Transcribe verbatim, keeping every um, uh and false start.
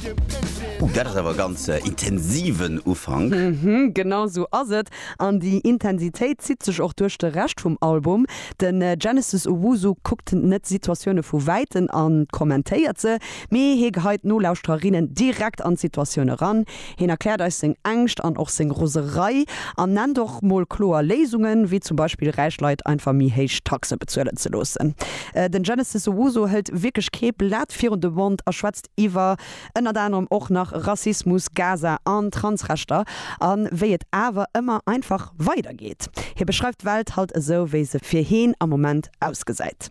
Uh, dat ass awer ganz äh, intensiven Ufank. Mhm, genau sou ass et. An déi Intensitéit zitt sech och duerch de Rescht vum Album. Den äh, Genesis Owusu kuckt net Situatioune vu wäitem an kommentéiert se, mee hie geheit d'Nolauschtererinnen direkt an d'Situatioun eran. Hien erkläert eis seng Ängscht an och seng Roserei an nennt och mol kloer Léisungen, wéi zum Beispill räich Leit einfach méi héich Taxe bezuelen ze loossen. Äh, den Genesis Owusu hëlt wierklech kee Blat virun de Mond a schwätzt iwwer ënnert anerem och nach Rassismus, Gaza an Transrechter an wéi et awer ëmmer einfach weidergeet. Hie beschreift d'Welt halt esou wéi se fir hien am Moment ausgesäit.